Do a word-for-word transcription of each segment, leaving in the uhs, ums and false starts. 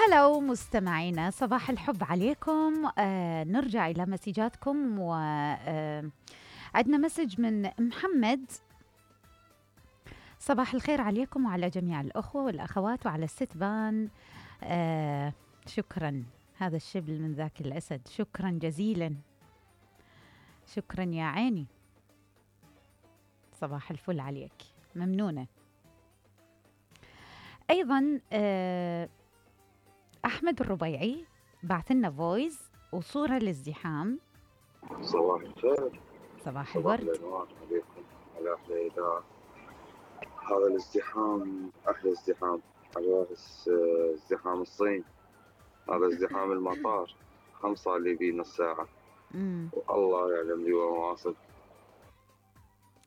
هلا مستمعينا، صباح الحب عليكم. آه نرجع إلى مسجاتكم، وعندنا آه مسج من محمد. صباح الخير عليكم وعلى جميع الأخوة والأخوات وعلى الستبان. آه شكرا، هذا الشبل من ذاك الأسد، شكرا جزيلا، شكرا يا عيني. صباح الفل عليك، ممنونة. أيضا آه أحمد الربيعي بعث لنا فويس وصورة للازدحام. صباح الخير، صباح صباح الورد الأنوار عليكم على أحلى إذاعة. هذا الازدحام أحلى ازدحام، على بس ازدحام الصين، هذا ازدحام المطار هم صار لي بيه نص ساعة. مم. والله يعلم لي وين واصل.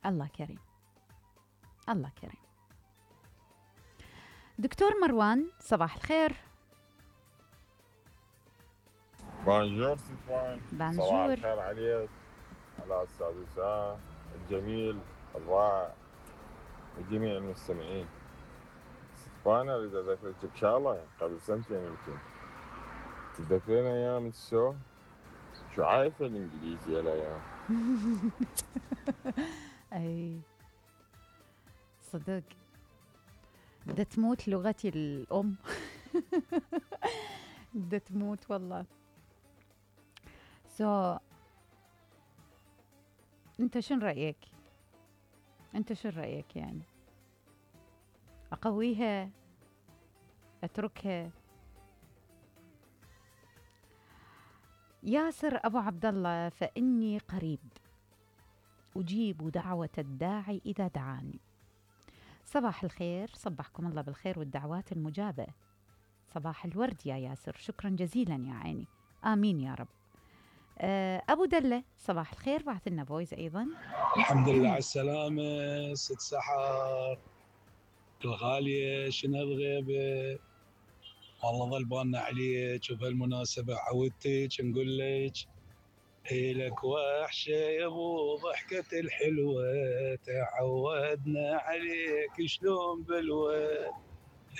الله كريم، الله كريم. دكتور مروان صباح الخير. بانجور ستوان، بانجور. صباح الخير عليك، على أستاذ وسام الجميل الرائع وجميع المستمعين. ستوان أريد أذكرك شغلة قبل سنتين يمكن، تتذكرين أيام الشو؟ شو عايفة الإنجليزي هالأيام؟ أي صدق، بدها تموت لغتي الأم. بدها تموت والله. سو so, أنت شن رأيك؟ أنت شن رأيك يعني؟ أقويها؟ أتركها؟ ياسر أبو عبد الله، فإني قريب أجيب دعوة الداعي إذا دعاني. صباح الخير، صبحكم الله بالخير والدعوات المجابة. صباح الورد يا ياسر، شكرا جزيلا يا عيني، آمين يا رب. أبو دلة صباح الخير، بعث لنا فويس أيضا. الحمد لله على السلامة ست سحر الغالية، شنو الغيبة؟ والله ظل بالنا عليك، وبهالمناسبة عودتك نقول لك إلك وحشة يا ابو ضحكة الحلوة، تعودنا عليك شلون بالود.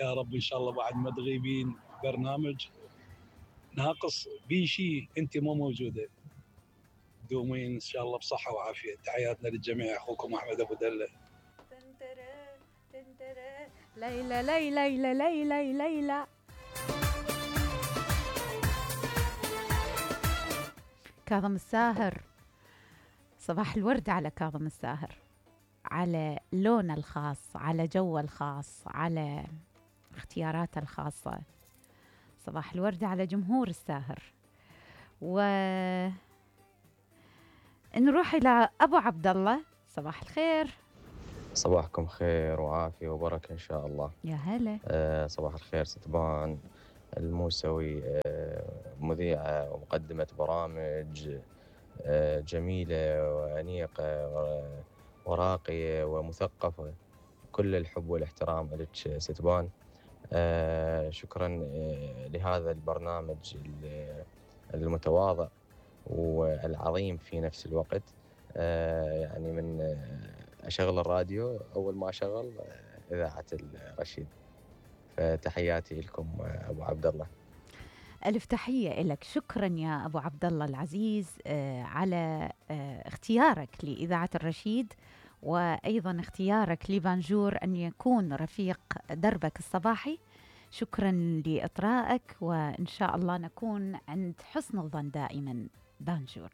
يا رب إن شاء الله بعد ما تغيبين برنامج ناقص بيشي أنت مو موجودة، دومين إن شاء الله بصحة وعافية. تحياتنا للجميع، أخوكم أحمد أبو دلة. تنترى تنترى ليلى ليلى ليلى ليلى ليلى. كاظم الساهر، صباح الورد على كاظم الساهر، على لونه الخاص، على جوه الخاص، على اختياراته الخاصة. صباح الورد على جمهور الساهر. ونروح إلى أبو عبد الله. صباح الخير. صباحكم خير وعافية وبركة إن شاء الله. يا هلا. آه صباح الخير ستبان الموسوي، آه مذيعة ومقدمة برامج آه جميلة وأنيقة وراقية ومثقفة. كل الحب والاحترام لك ستبان. آه شكرا آه لهذا البرنامج المتواضع والعظيم في نفس الوقت. آه يعني من آه أشغل الراديو أول ما أشغل آه إذاعة الرشيد. فتحياتي لكم آه أبو عبد الله. ألف تحية لك، شكرا يا أبو عبد الله العزيز آه على آه اختيارك لإذاعة الرشيد، وأيضا اختيارك لبانجور أن يكون رفيق دربك الصباحي. شكرا لإطرائك، وإن شاء الله نكون عند حسن الظن دائما. بانجور.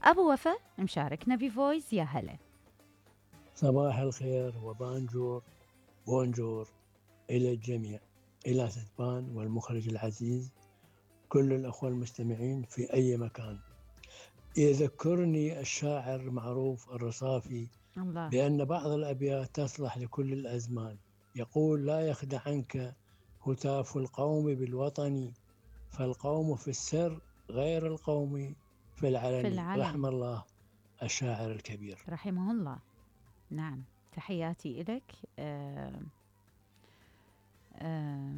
أبو وفا مشاركنا بفويس. يا هلا. صباح الخير وبانجور بونجور إلى الجميع، إلى ستبان والمخرج العزيز، كل الأخوة المستمعين في أي مكان. يذكرني الشاعر المعروف الرصافي الله. بأن بعض الأبيات تصلح لكل الأزمان. يقول: لا يخدعنك هتاف القوم بالوطن، فالقوم في السر غير القوم في العلن. في العلن. رحم الله الشاعر الكبير. رحمه الله. نعم، تحياتي إليك. آه آه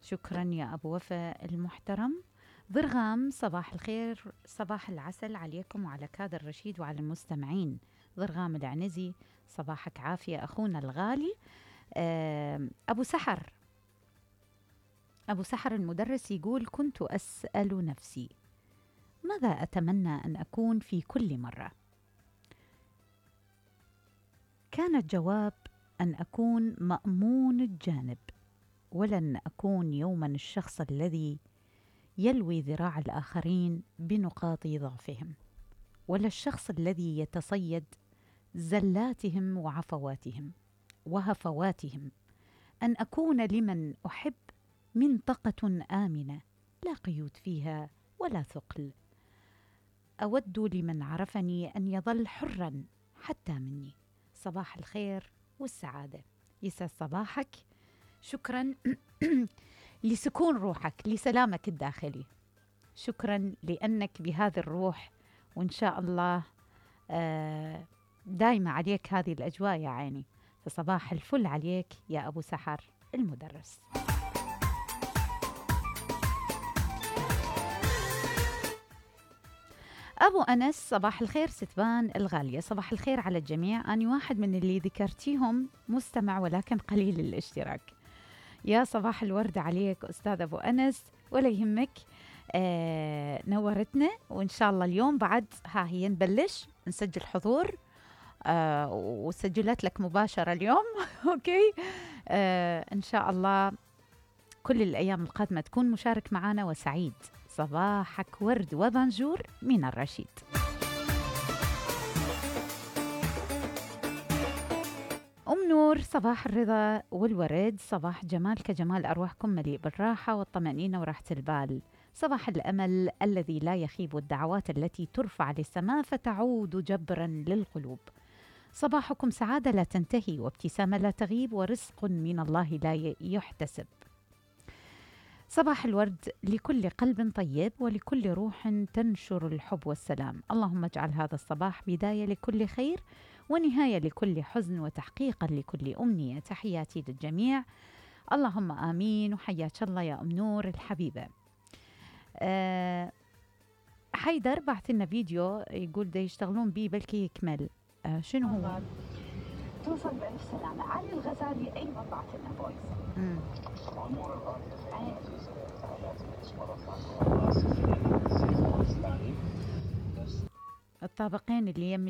شكرا يا أبو وفا المحترم. ضرغام صباح الخير، صباح العسل عليكم وعلى كادر رشيد وعلى المستمعين. ضرغام العنزي، صباحك عافية أخونا الغالي. آه أبو سحر أبو سحر المدرس يقول: كنت أسأل نفسي ماذا أتمنى أن أكون في كل مرة؟ كان الجواب أن أكون مأمون الجانب، ولن أكون يوما الشخص الذي يلوي ذراع الآخرين بنقاط ضعفهم، ولا الشخص الذي يتصيد زلاتهم وعفواتهم وهفواتهم. أن أكون لمن أحب منطقة آمنة لا قيود فيها ولا ثقل. أود لمن عرفني أن يظل حرا حتى مني. صباح الخير والسعادة، يسعد صباحك. شكرا لسكون روحك، لسلامك الداخلي. شكرا لأنك بهذه الروح، وإن شاء الله دايما عليك هذه الأجواء يا عيني. فصباح الفل عليك يا أبو سحر المدرس. أبو أنس: صباح الخير ستبان الغالية. صباح الخير على الجميع. أنا واحد من اللي ذكرتيهم مستمع ولكن قليل الاشتراك. يا صباح الورد عليك أستاذ أبو أنس، ولا يهمك. آه نورتنا، وإن شاء الله اليوم بعد ها هي نبلش نسجل حضور، آه وسجلت لك مباشرة اليوم. أوكي. آه إن شاء الله كل الأيام القادمة تكون مشارك معنا وسعيد. صباحك ورد وبنجور من الرشيد. أم نور: صباح الرضا والورد، صباح جمال كجمال أرواحكم، مليء بالراحة والطمأنينة وراحة البال. صباح الأمل الذي لا يخيب، والدعوات التي ترفع للسماء فتعود جبرا للقلوب. صباحكم سعادة لا تنتهي، وابتسامة لا تغيب، ورزق من الله لا يحتسب. صباح الورد لكل قلب طيب، ولكل روح تنشر الحب والسلام. اللهم اجعل هذا الصباح بداية لكل خير، ونهاية لكل حزن، وتحقيقا لكل أمنية. تحياتي للجميع، اللهم آمين. وحياك الله يا أم نور الحبيبة. أه حيدر بعث لنا فيديو يقول دا يشتغلون بيه بلكي يكمل. أه شنو هو؟ توصل بألف سلامة. علي الغزالي أيضا بعث لنا فويس. الطابقين اللي يم